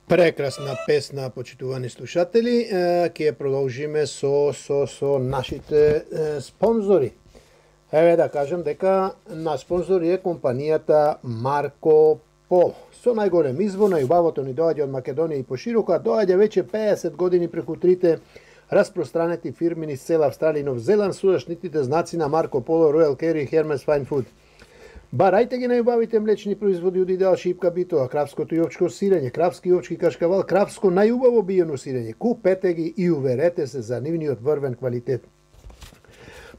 Прекрасна песна, почитувани слушатели. Ќе продолжиме со нашите спонзори. Еве да кажем дека на спонзори е компанијата Марко Поло. Со најголем избор на јубавото ни доаѓа од Македонија и пошироко, а доаѓа веќе 50 години преку трите распространети фирми низ цела Австралија и Нов Зеланд со заштитите знаци на Марко Поло, Royal Carry и Hermes Fine Food. Барајте ги најубавите млечни производи од Идеал Шипка Битола, кравското и овчко сирење, кравски и овчки кашкавал, кравско најубаво биено сирење. Купете ги и уверете се за нивниот врвен квалитет.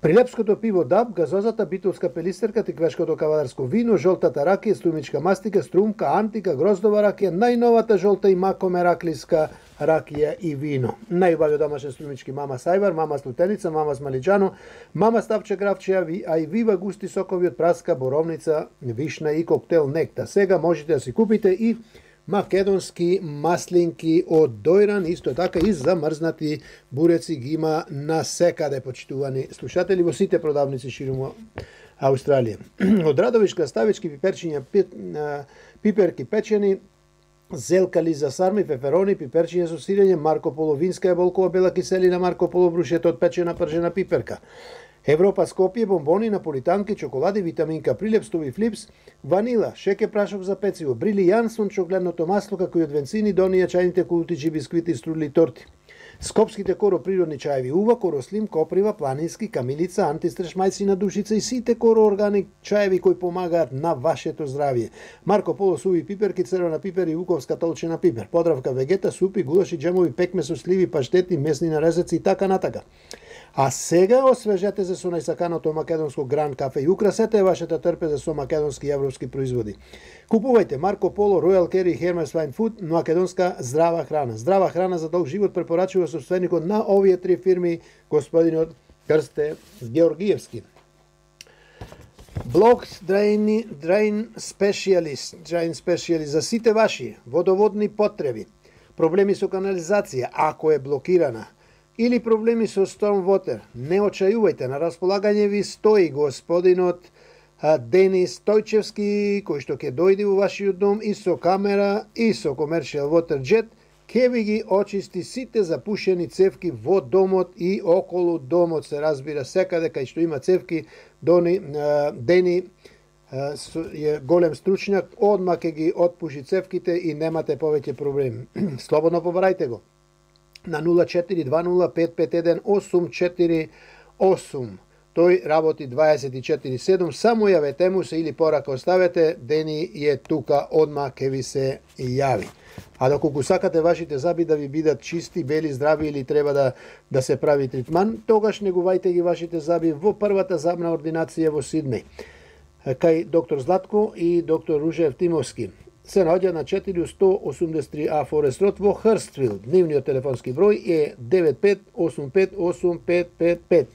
Прилепското пиво Даб, газозата битолска пелистерка, тиквешкото кавадарско вино, жолтата ракија, струмичка мастика, струмка, антика, гроздова ракија, најновата жолта и макоме раклиска ракија и вино. Најубави домашен струмички Мама Сајвар, Мама Слутеница, Мама Смалиџано, Мама Ставче Гравче, а и Вива густи сокови од праска, боровница, вишна и коктел Некта. Сега можете да си купите и македонски маслинки од дојран, исто така и замрзнати буреци ги има на секаде, почитувани слушатели, во сите продавници ширум Австралија. Од Радовишка ставички, пиперчиња, пиперки печени, зелкали за сарми, пеперони, пиперчиња со сирење, Марко Поло винска еболкова бела киселина, Марко Поло брушето од печена пржена пиперка. Европа Скопје, бомбони, наполитанки, чоколади, витаминка, прилепстови флипс, ванила, шеке прашок за пecivo, брили Јансон, чогледното масло, како и од венцини, донија чајните култичи, бисквити, струдли, торти. Скопските Коро природни чаеви Ува, Коро Слим, Коприва, Планински, Камилица, антистреш мајцина душица и сите Коро органик чаеви кои помагаат на вашето здравје. Марко Поло суви пиперки, црвена пипер и вуковска толчена пипер, подравка вегета, супи, гулаши, джемови, пекме со сливи, паштети, месни нарезаци и така натака. А сега освежете се со најсаканото македонско Гран кафе и украсете вашата трпеза со македонски и европски производи. Купувајте Марко Поло, Royal Carry и Hermes Fine Food, македонска здрава храна. Здрава храна за долг живот препорачува собственикот на овие три фирми, господинот Крсте Георгиевски. Блок Drain Specialist за сите ваши водоводни потреби, проблеми со канализација, ако е блокирана, или проблеми со storm water, не очајувајте, на располагање ви стои господинот Денис Стојчевски, кој што ќе дојде во вашиот дом и со камера и со commercial water jet, ќе ви ги очисти сите запушени цевки во домот и околу домот, се разбира секаде кај што има цевки. Дени е голем стручњак, одма ќе ги отпуши цевките и немате повеќе проблеми. Слободно побарајте го на 0420551848. Тој работи 24/7, само јавете му се или порака оставете, Дени е тука, одма ке ви се јави. А доколку сакате вашите зъби да ви бидат чисти, бели, здрави или треба да се прави тритман, тогаш негувајте ги вашите зъби во првата зъбна ординација во Сиднеј, кај доктор Златко и доктор Ружев Тимовски. Се наоѓа на 4183А Форест Род во Хрствил. Дневниот телефонски број е 95858555.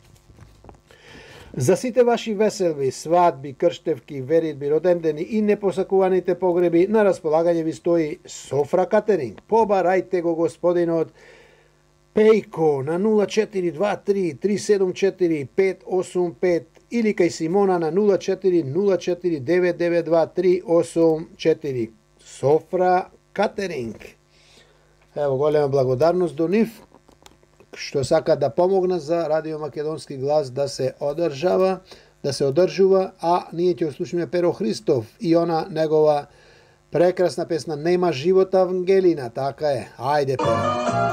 За сите ваши веселби, свадби, крштевки, веридби, родендени и непосакуваните погреби, на располагање ви стои Софра Катеринг. Побарајте го господинот Пејко на 0423 374 585 или кај Симона на 0404 992 384. Софра Катеринг. Ево, голема благодарност до нив, што сака да помогна за Радио Македонски глас да се одржува, а ние ќе слушаме Перо Христов и она негова прекрасна песна Нема живот Ангелина, така е. Ајде, Перо.